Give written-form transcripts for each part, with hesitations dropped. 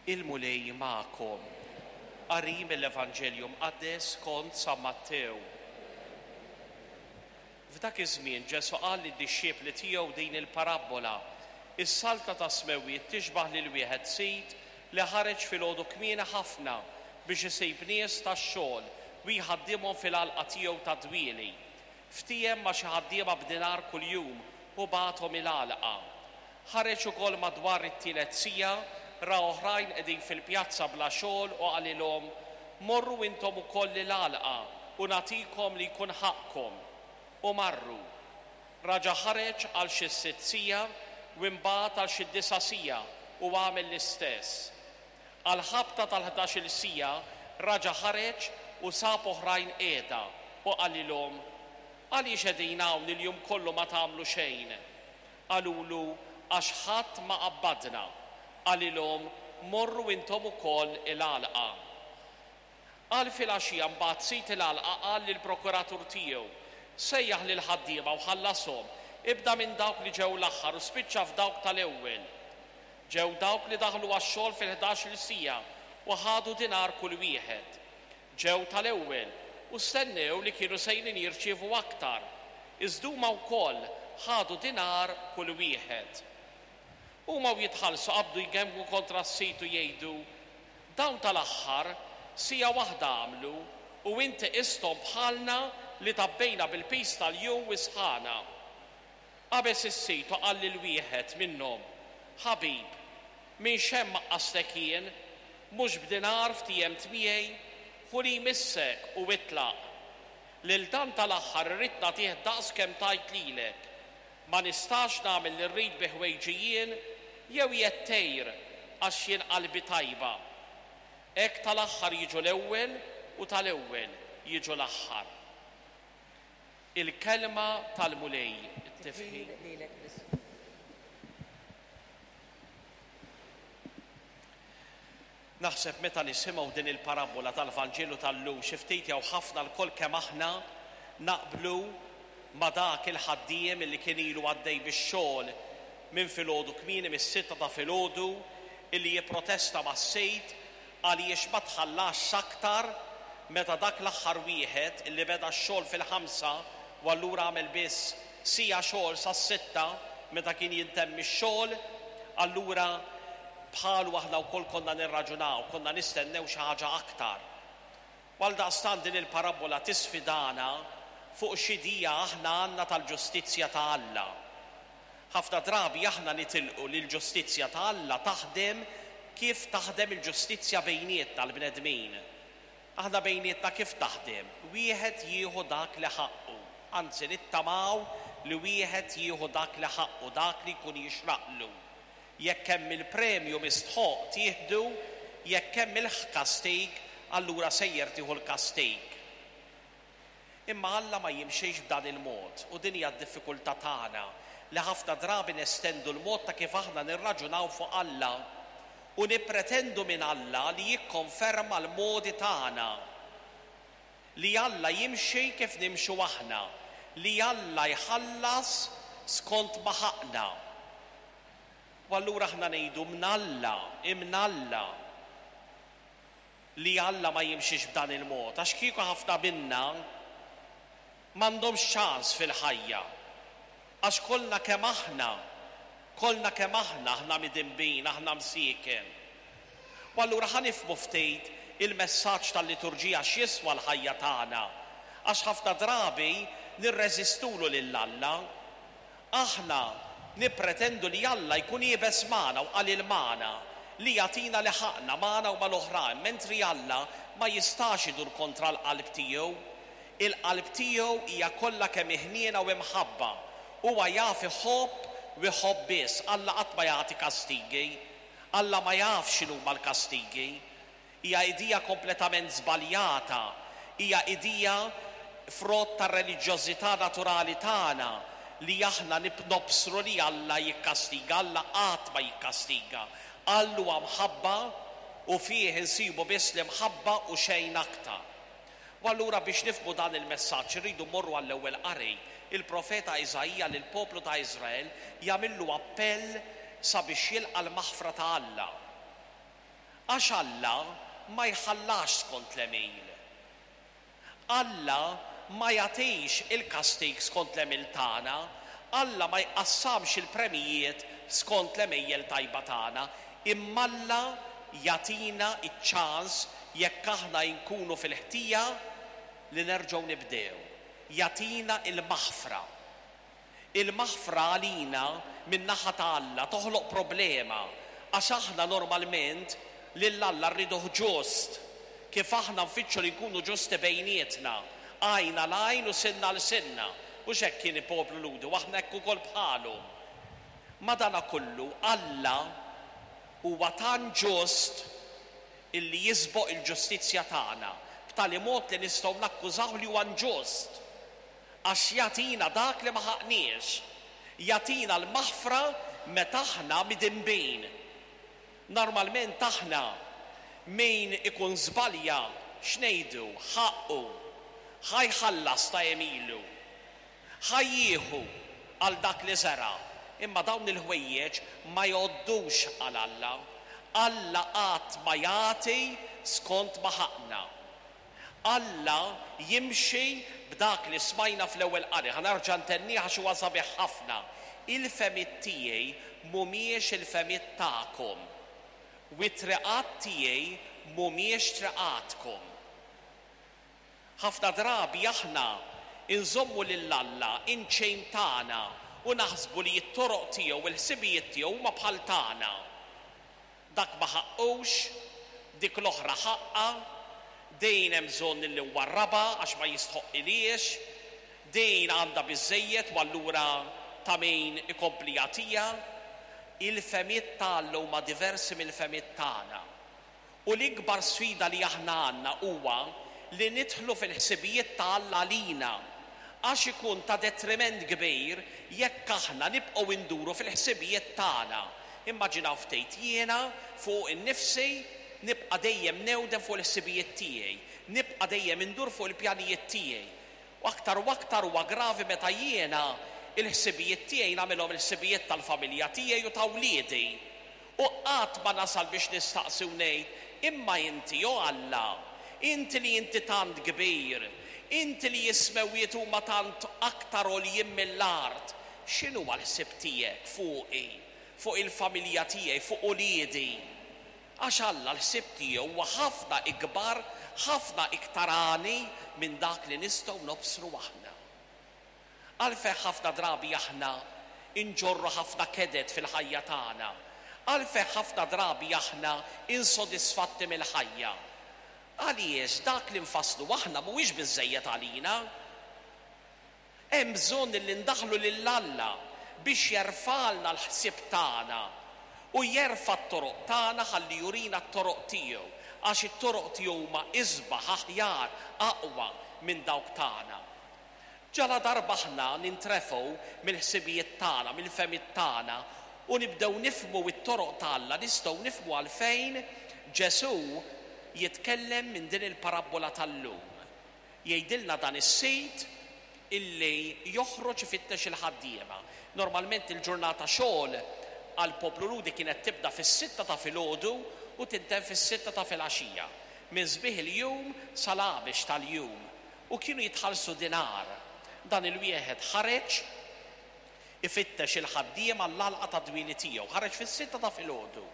Il-Mulej magħkom. Qari mill-Evanġelju Mqaddes skont San Mattew. F'dak iż-żmien Ġesù qal lid-dixxipli tiegħu din il-parabbola, Is-saltna tas-smewwiet tixbah lil wieħed sid li ħareġ filgħodu kmieni ħafna biex isib nies tax-xogħol u jħaddimhom fil-għalqa tiegħu tad-dwieli. Ftiehem ma' xi ħaddiema b'dinar kuljum u bagħathom il-għalqa. Ħareġ ukoll madwar it-tielet siegħa, ra oħrajn qegħdin fil-pjazza bla xogħol u qalilhom, 'Morru intom ukoll il-għalqa u nagħtikom li jkun ħaqqkom. U marru. Raġa' ħareġ għal xi s-sitt siegħa u imbagħad għal xi d-disa' siegħa u għamel l-istess. Għall-ħabta tal-ħdax-il siegħa raġa' ħareġ u sab oħrajn qiegħda u qalilhom, Għaliex qegħdin hawn il-jum kollu ma tagħmlu xejn? Qalulu, Għax ħadd ma qabbadna. Qalilhom, Morru intom ukoll il-għalqa. Għal filgħaxija mbagħad sid il-għalqa qal lill-prokuratur tiegħu, 'Sejjaħ lill-ħaddiema u ħallashom, ibda minn dawk li ġew l-aħħar u spiċċa f'dawk tal-ewwel. Ġew dawk li daħlu għax-xogħol fil-ħdax-il siegħa u ħadu dinar kull wieħed. Ġew tal-ewwel u stennew li kienu sejrin jirċievu aktar, iżda huma wkoll ħadu dinar kull wieħed. Huma u jitħallsu qabdu jgemgmu kontra s-sid u jgħidu, 'Dawn tal-aħħar siegħa waħda għamlu u inti qisthom bħalna li tgħabbejna bil-piż tal-jum u s-sħana. Qabeż is-sid u qal lil wieħed minnhom, 'Ħabib, minn x'hemm għaqqastek jien? Mhux b'dinar ftiehemt miegħi? Ħu li jmissek u itlaq. Lil dan tal-aħħar irrid nagħtih daqs kemm tajt lilek. Ma nistax nagħmel li rrid bi ħwejġi jien, jew qiegħed tgħir għax jien qalbi tajba? Hekk tal-aħħar jiġu l-ewwel u tal-ewwel jiġu l-aħħar. Il-Kelma tal-Mulej, it-tifħir lilek Kristu. Naħseb meta nisimgħu din il-parabbola tal-Vanġelu tal-lum xi ftit jew ħafna lkoll kemm aħna naqblu ma' dak il-ħaddiem illi kien ilu għaddej bix-xogħol minn filgħodu kmieni mis-sitta ta' filgħodu illi jipprotesta mas-sid Għaliex ma tħallasx aktar meta dak l-aħħar wieħed li beda x-xogħol fil-ħamsa u allura għamel biss siegħa xogħol sas-sitta meta kien jintemm ix-xogħol, allura bħalu aħna wkoll konna nirraġunaw, konna nistennew xi ħaġa aktar. U għaldaqstant din il-parabbola tisfidana fuq x'idea aħna għandna tal-ġustizzja ta' Alla. Ħafna drabi aħna nitilqu li l-ġustizzja ta' Alla taħdem kif taħdem il-ġustizzja bejnietna l-bnedmin. Aħna bejnietna kif taħdem? Wieħed jieħu dak li ħaqqu. Anzi nittamaw li wieħed jieħu dak li ħaqqu, dak li jkun jixraqlu. Jekk hemm il-premju mistħoqq tieħdu, jekk hemm il-kastig, allura sejjer tieħu l-kastig. Imma Alla ma jimxix b'dan il-mod, u din hija d-diffikultà tagħna, li ħafna drabi nestendu l-mod ta' kif aħna nirraġunaw fuq Alla u nippretendu minn Alla li jikkonferma l-modi tagħna, li Alla jimxi kif nimxu aħna, li Alla jħallas skont ma ħaqqna. U allura aħna ngħidu mnalla, imnalla. li Alla ma jimxix b'dan il-mod, għax kieku ħafna minna m'għandhomx ċans fil-ħajja. Għax kollna kemm aħna, kollna kemm aħna, aħna midinbin, aħna msieken. U allura ħa nifhmu ftit il-messaġġ tal-liturġija x'jiswa l-ħajja tagħna, għax ħafna drabi nirreżistulu lil Alla. Aħna nippretendu li Alla jkun iebes magħna u qalil magħna, li jagħtina li ħaqqna magħna u mal-oħrajn, mentri Alla ma jistax idur kontra l-qalb tiegħu. Il-qalb tiegħu hija kollha kemm hi ħniena u imħabba. Huwa jaf iħobb u jħobb biss. Alla qatt ma jagħti kastigi. Alla ma jafx x'inhuma l-kastigi. Hija idea kompletament żbaljata. Hija idea frott tar-reliġjożità naturali tagħna li aħna nobsru li Alla jikkastiga. Alla qatt ma jikkastiga. Alla huwa mħabba u fih insibu biss l-imħabba u xejn aktar. U allura biex nifhmu dan il-messaġġ irridu mmorru għall-ewwel qari. Il-profeta Iżaija lill-poplu ta' Iżrael jagħmillu appell sabiex jilqa' l-maħfra ta' Alla. Għax Alla ma jħallasx skont l-għemil. Alla ma jagħtix il-kastig skont l-għemil tagħna, Alla ma jqassamx il-premijiet skont l-għemejjel tajba tagħna, imma Alla jagħtina ċ-ċans jekk aħna nkunu fil-ħtija li nerġgħu nibdew. Jagħtina l-maħfra. Il-maħfra għalina min-naħa ta' Alla toħloq problema għax aħna normalment lil Alla rriduh ġust, kif aħna nfittxu li nkunu ġusti bejnietna, għajn għal għajn u sinna għal sinna. Hux hekk kien il-poplu Lhudi u aħna hekk ukoll bħalu. Madanakollu Alla huwa tant ġust illi jisboq il-ġustizzja tagħna, b'tali mod li nistgħu nakkużawh li huwa inġust. Għax jagħtina dak li ma ħaqqniex. Jagħtina l-maħfra meta aħna midinbin. Normalment aħna min ikun żbalja x'ngħidu? Ħaqqu. Ħa jħallas ta' għemilu. Ħa jieħu għal dak li żera'. Imma dawn il-ħwejjeġ ma jgħoddux għal Alla. Alla qatt ma jagħti skont ma ħaqqna. Alla jimxi b'dak li smajna fl-ewwel qari. Ħa nerġa' ntennih għax huwa sabiħ ħafna, Il-fehmiet tiegħi mhumiex il-fehmiet tagħkom, u t-triqat tiegħi mhumiex triqatkom. Ħafna drabi aħna nżommu lil Alla in chain tagħna u naħsbu li t-toroq tiegħu u l-ħsibijiet tiegħu huma bħal tagħna. Dak ma ħaqqux, dik l-oħra ħaqqha, din hemm bżonn illi nwarrabha għax ma jistħoqqilhiex, din għandha biżżejjed u allura ta' min ikompli jagħtiha. Il-fehmiet ta' Alla huma diversi mill-fehmiet tagħna. U l-ikbar sfida li aħna għandna huwa li nidħlu fil-ħsibijiet ta' Alla għalina, għax ikun ta' detriment kbir jekk aħna nibqgħu nduru fil-ħsibijiet tagħna. Immaġinaw ftit, jiena fuq innifsi nibqa' dejjem newden fuq il-ħsibijiet tiegħi, nibqa' dejjem indur fuq il-pjanijiet tiegħi. U aktar u aktar huwa gravi meta jiena l-ħsibijiet tiegħi nagħmilhom il-ħsibijiet tal-familja tiegħi u ta' wliedi. U qatt ma nasal biex nistaqsi u ngħid, Imma inti, o Alla, inti li inti tant kbir, inti li s-smewwiet huma tant aktar għoljin mill-art, x'inhuwa l-ħsieb tiegħek fuqi, fuq il-familja tiegħi, fuq uliedi? Għax Alla l-ħsieb tiegħu huwa ħafna ikbar, ħafna iktar għani minn dak li nistgħu nobsru aħna. Għalfejn ħafna drabi aħna nġorru ħafna keded fil-ħajja tagħna? Għalfejn ħafna drabi aħna insodisfatti mill-ħajja? Għaliex dak li nfasslu aħna mhuwiex biżżejjed għalina. Hemm bżonn li ndaħħlu lil Alla biex jerfgħalna l-ħsieb tagħna u jerfa' t-toroq tagħna ħalli jurina t-toroq tiegħu, għax it-toroq tiegħu huma isbaħ, aħjar, aqwa minn dawk tagħna. Ġaladarba aħna nintrefgħu mill-ħsibijiet tagħna, mill-fehmiet tagħna u nibdew nifhmu t-toroq ta' Alla, nistgħu nifhmu għalfejn Ġesù jitkellem minn din il-parabbola tal-lum. Jgħidilna dan is-sid illi joħroġ ifittex il-ħaddiema. Normalment il-ġurnata xogħol għall-poplu Lhudi kienet tibda fis-sitta ta' filgħodu u tintemm fis-sitta ta' filgħaxija, minn sbieħ il-jum sal-għabex tal-jum, u kienu jitħallsu dinar. Dan il-wieħed ħareġ ifittex il-ħaddiema għall-għalqa tad-dwieli tiegħu. Ħareġ fis-sitta ta' filgħodu.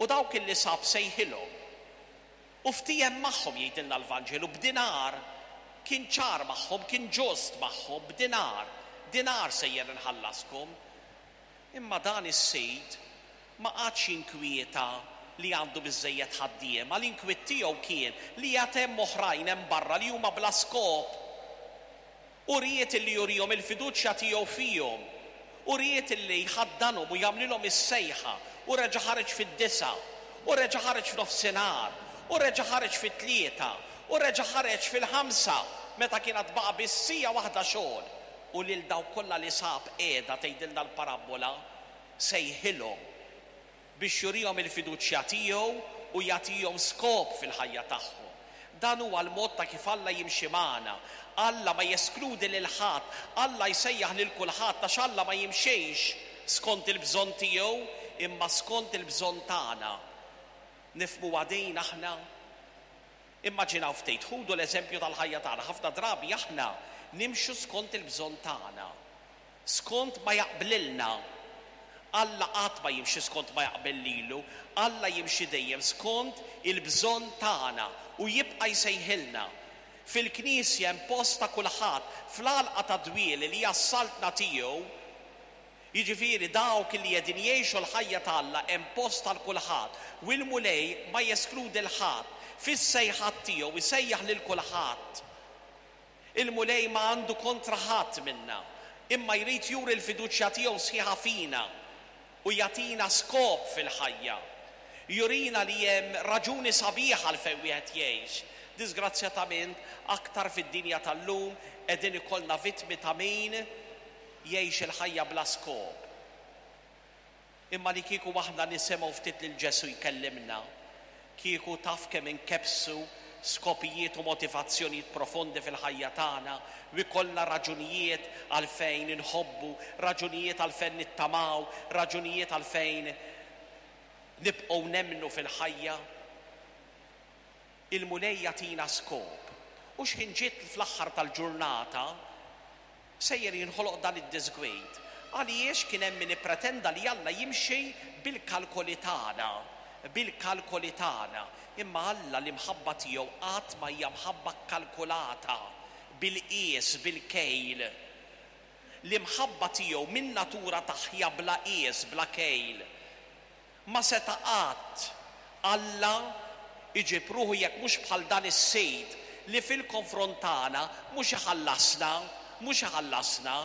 U dawk illi sab sejħilhom. U ftiehem magħhom, jgħidilna l-Vanġelu, b'dinar. Kien ċar magħhom, kien ġust magħhom, b'dinar. Dinar sejjer inħallaskom. Imma dan is-sid ma qagħadx jinkwieta li għandu biżżejjed ħaddiema, l-inkwiet tiegħu kien li għad hemm oħrajn hemm barra li huma bla skop. Hu ried illi jurihom il-fiduċja tiegħu fihom. Hu ried illi jħaddanhom u jagħmlilhom is-sejħa. U reġa' ħareġ fid-disgħa. U reġa' ħareġ f'nofsinhar. U reġa' ħareġ fit-tlieta. U reġa' ħareġ fil-ħamsa, meta kien għad baqa' biss siegħa waħda xogħol. U lil dawk kollha li sab qiegħda tgħidilna l-parabbola, sejħilhom. biex jurihom il-fiduċja tiegħu u jagħtihom skop fil-ħajja tagħhom. Dan huwa l-mod ta' kif Alla jimxi magħna. Alla ma jeskludi lil ħadd, Alla jsejjaħ lil kulħadd għax Alla ma jimxix skont il-bżonn tiegħu imma skont il-bżonn tagħna. Nifhmuha din aħna? Immaġinaw ftit, ħudu l-eżempju tal-ħajja tagħna, ħafna drabi aħna nimxu skont il-bżonn tagħna, skont ma jaqblilna. Alla qatt ma jimxi skont ma jaqbel lilu, Alla jimxi dejjem skont il-bżonn tagħna u jibqa' jsejħilna. Fil-Knisja hemm post ta' kulħadd, fl-għalqa tad-dwieli li hija s-saltna tiegħu, Jiġifieri dawk li qegħdin jgħixu l-ħajja ta' Alla hemm post għal kulħadd u l-Mulej ma jeskludi 'l ħadd. Fis-sejħat tiegħu jsejjaħ lil kulħadd. Il-Mulej ma għandu kontra ħadd minna, imma jrid juri l-fiduċja tiegħu sħiħa fina u jagħtina skop fil-ħajja. Jurina li hemm raġuni sabiħa għalfejn wieħed jgħix. Diżgrazzjatament, aktar fid-dinja tal-lum qegħdin ikollna vittmi ta' min jgħix il-ħajja bla skop. Imma li kieku aħna nisimgħu ftit lil Ġesù jkellimna, kieku taf kemm inkebbsu skopijiet u motivazzjonijiet profondi fil-ħajja tagħna u jkollna raġunijiet għalfejn inħobbu, raġunijiet għalfejn nittamaw, raġunijiet għalfejn nibqgħu nemmnu fil-ħajja. Il-Mulej jagħtina skop. U x'ħin ġiet fl-aħħar tal-ġurnata, Sejjer jinħoloq dan id-diżgwid. Għaliex kien hemm min ippretenda li Alla jimxi bil-kalkoli tagħna, bil-kalkoli tagħna. Imma Alla l-imħabba tiegħu qatt ma hija mħabba kkalkulata, bil-qies, bil-kejl. L-imħabba tiegħu min-natura tagħha hija bla qies, bla kejl. Ma seta' qatt Alla jġib ruħu jekk mhux bħal dan is-sid li fil-konfront tagħna mhux iħallasna, mhux iħallasna,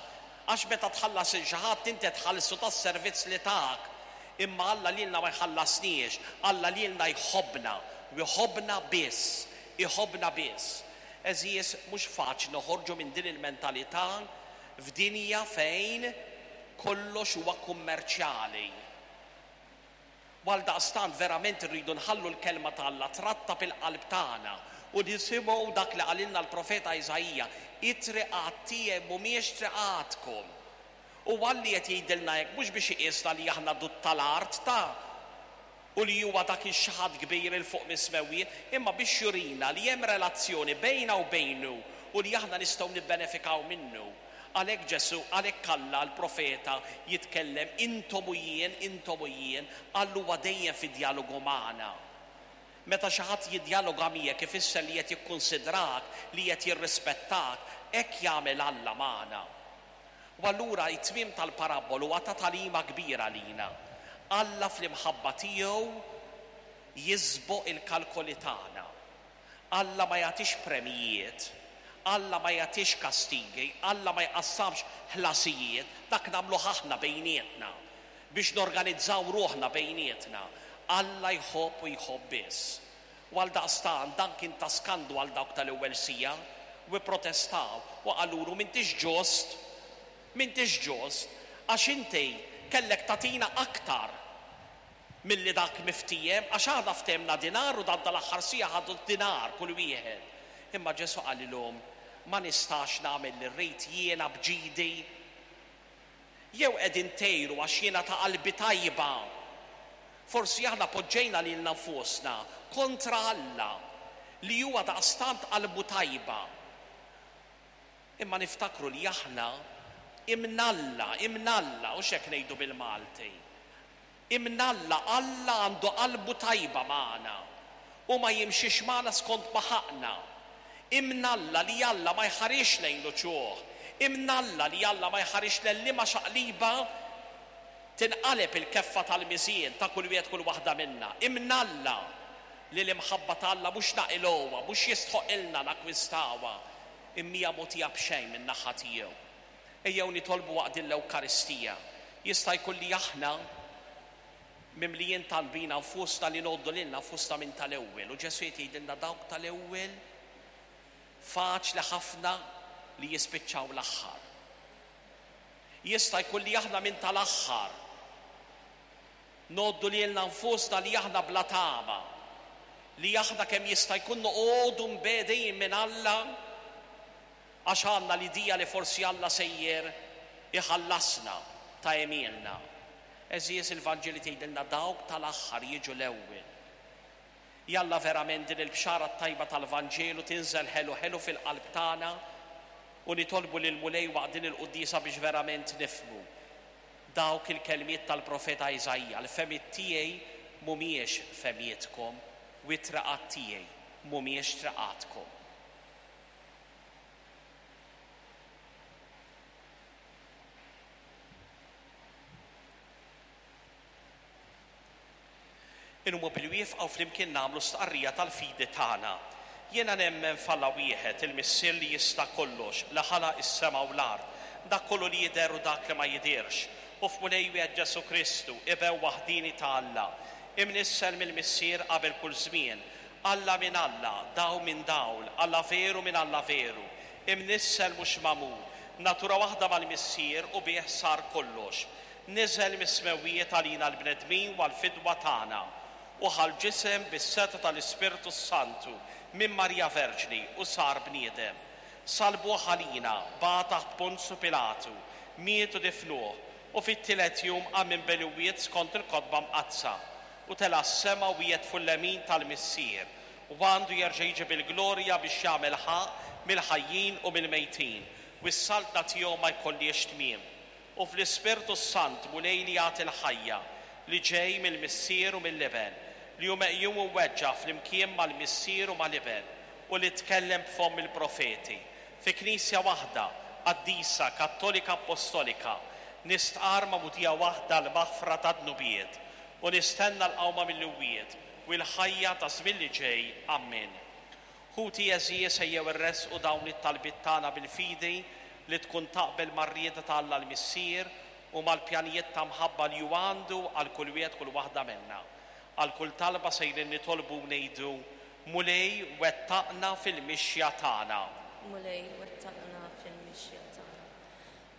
għax meta tħallas lil xi ħadd inti tħallsu tas-servizz li tak. Imma Alla lilna ma jħallasniex, Alla lilna jħobbna, u jħobbna biss, iħobbna biss. Għeżież, mhux faċli noħorġu minn din il-mentalità f'dinja fejn kollox huwa kummerċjali. U għaldaqstant verament irridu nħallu l-Kelma ta' Alla trattab il-qalb tagħna u nisimgħu dak li qalilna l-profeta Iżaija, It-triqat tiegħi mhumiex triqatkom. U Alli qed jgħidilna hekk mhux biex iqisna li aħna dud tal-art ta' u li huwa dak ix-xi ħadd kbir 'il fuq mis-smewwiet, imma biex jurina li hemm relazzjoni bejna u bejnu u li aħna nistgħu nibbenefikaw minnu. Għalhekk Ġesù, għalhekk Alla, l-profeta, jitkellem, intom u jien, intom u jien, Alla huwa dejjem fi djalogu magħna. Meta xi ħadd jiddjaloga miegħek ifisser li qed jikkunsidrak, li qed jirrispettak, hekk jagħmel Alla magħna. U allura t-tmiem tal-parabbolu huwa ta' tagħlima kbira għalina. Alla fl-imħabba tiegħu jisboq il-kalkoli tagħna. Alla ma jagħtix premjijiet, Alla ma jagħtix kastigi, Alla ma jqassamx ħlasijiet, dak nagħmluh aħna bejnietna biex norganizzaw ruħna bejnietna. Alla jħobb u jħobb biss. U għaldaqstant dan kien ta' skandlu għal dawk tal-ewwel siegħa u pprotestaw u qalulu m'intix ġust, m'intix ġust, għax inti kellek tagħtina aktar milli dak miftiehem, għax aħna ftehemna dinar u dan tal-aħħar siegħa ħadu dinar kull wieħed. Imma Ġesù qalilhom, Ma nistax nagħmel li rrid jiena b'ġidi? Jew qegħdin tgħiru għax jiena ta' qalbi tajba? Forsi aħna poġġejna lilna nfusna kontra Alla, li huwa daqstant qalbu tajba. Imma niftakru li aħna imnalla, imnalla, hux hekk ngħidu bil-Malti. Imnalla Alla għandu qalbu tajba magħna. Hu ma jimxix magħna skont ma ħaqqna. Imnalla li Alla ma jħarisx lejn l-uċuħ. Imnalla li Alla ma jħarisx lejn liema xaqliba tinqaleb il-keffa tal-miżien ta' kull wieħed kull waħda minna. Imnalla li l-imħabba ta' Alla mhux naqilgħuha, mhux jistħoqqilna nakkwistawha, imma hija mogħtija b'xejn min-naħa tiegħu. Ejjew nitolbu waqt din l-Ewkaristija. Jista' jkun li aħna mimlijin tant bina nfusna li ngħoddu lilna nfusna minn tal-ewwel u Ġesù qed jgħidilna dawk tal-ewwel faċli ħafna li jispiċċaw l-aħħar. Jista' jkun li aħna minn tal-aħħar ngħoddu lilna nfusna li aħna bla tama, li aħna kemm jista' jkun noqogħdu mbegħdin minn Alla Għax għandna l-idea li forsi Alla sejjer iħallasna ta' għemilna. Għeżież il-Vanġeli tgħidilna dawk tal-aħħar jiġu l-ewwel. Jalla verament din il-Bxara t-tajba tal-Vanġelu tinżel ħelu ħelu fil-qalb tagħna u nitolbu lill-Mulej waqt din il-quddiesa biex verament nifhmu dawk il-kelmiet tal-profeta Iżaija, L-fehmiet tiegħi mhumiex fehmietkom u t-triqat tiegħi mhumiex triqatkom. Inqumu bil-wieqfa u flimkien nagħmlu stqarrija tal-fidi tagħna. Jiena nemmen f'Alla wieħed, il-Missier li jista' kollox, li ħalaq is-sema u l-art, dak kollu li jidher u dak li ma jidhirx, u f'Mulej wieħed Ġesù Kristu, Iben waħdieni ta' Alla, imnissel mill-Missier qabel kull żmien, Alla minn Alla, dawl minn dawl, Alla veru minn Alla veru, imnissel mhux magħmul, natura waħda mal-Missier u bih sar kollox. Niżel mis-smewwiet għalina l-bnedmin u għall-fidwa tagħna, u ħa l-ġisem bis-setgħa tal-Ispirtu s-Santu minn Marija Verġni u sar bniedem. Sallbuh għalina, bagħat taħt Ponzu Pilatu, miet u difnuh, u fit-tielet jum qam minn bejn l-imwiet skont il-Kotba Mqaddsa, u tela' s-sema u qiegħed fuq il-lemin tal-Missier, u għandu jerġa' jiġi bil-glorja biex jagħmel ħaqq mill-ħajjin u mill-mejtin, u s-saltna tiegħu ma jkollhiex tmiem. U fl-Ispirtu s-Sant, Mulej li jagħti l-ħajja, li ġej mill-Missier u mill-Iben, li hu meqjum u mweġġa' flimkien mal-Missier u mal-Iben, u li tkellem b'fomm il-profeti, fi Knisja waħda, qaddisa, kattolika appostolika, nistqarr magħmudija waħda għall-maħfra tad-dnubiet, u nistenna l-qawma mill-imwiet, u l-ħajja taż-żmien li ġej. Ammen. Ħuti għeżież ejjew irressqu dawn it-talbiet tagħna bil-fidi li tkun taqbel mar-rieda ta' Alla l-Missier u mal-pjanijiet ta' mħabba li hu għandu għal kull wieħed kull waħda minna. Għal kull talba sejrin nitolbu u ngħidu, Mulej wettaqna fil-mixja tagħna. Mulej wettaqna fil-mixja tagħna.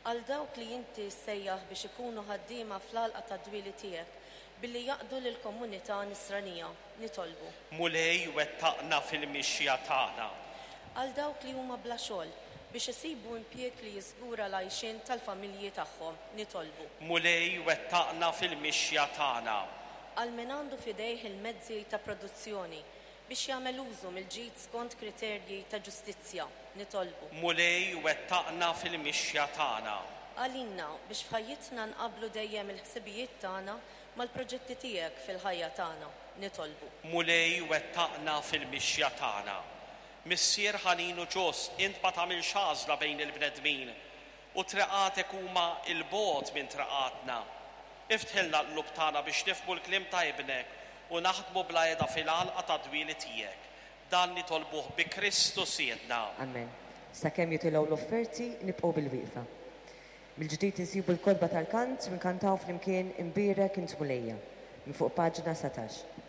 Għal dawk li inti ssejjaħ biex ikunu ħaddiema fl-għalqa tad-dwieli tiegħek, billi jaqdu lill-komunità Nisranija, nitolbu. Mulej wettaqna fil-mixja tagħna. Għal dawk li huma bla xogħol, biex isibu impjieg li jiżgura l-għajxien tal-familji tagħhom, nitolbu. Mulej wettaqna fil-mixja tagħna. Għal min għandu f'idejh il-mezzi ta' produzzjoni, biex jagħmel użu mill-ġid skont kriterji ta' ġustizzja, nitolbu. Mulej wettaqna fil-mixja tagħna. Għalina, biex f'ħajjitna nqabblu dejjem il-ħsibijiet tagħna mal-proġetti tiegħek fil-ħajja tagħna, nitolbu. Mulej wettaqna fil-mixja tagħna. Missier ħanin u ġust, int ma tagħmilx għażla bejn il-bnedmin, u triqatek huma 'l bogħod minn triqatna. Iftħilna l-qlub tagħna biex nifhmu l-kliem ta' Ibnek u naħdmu bla heda fil-għalqa tad-dwieli tiegħek. Dan nitolbuh bi Kristu Sidna. Amen. Sakemm jitilgħu l-offerti, nibqgħu bilwieqfa. Mill-ġdid insibu l-kotba tal-kant u nkantaw flimkien Imbierek Int Mulejja, minn fuq paġna 19.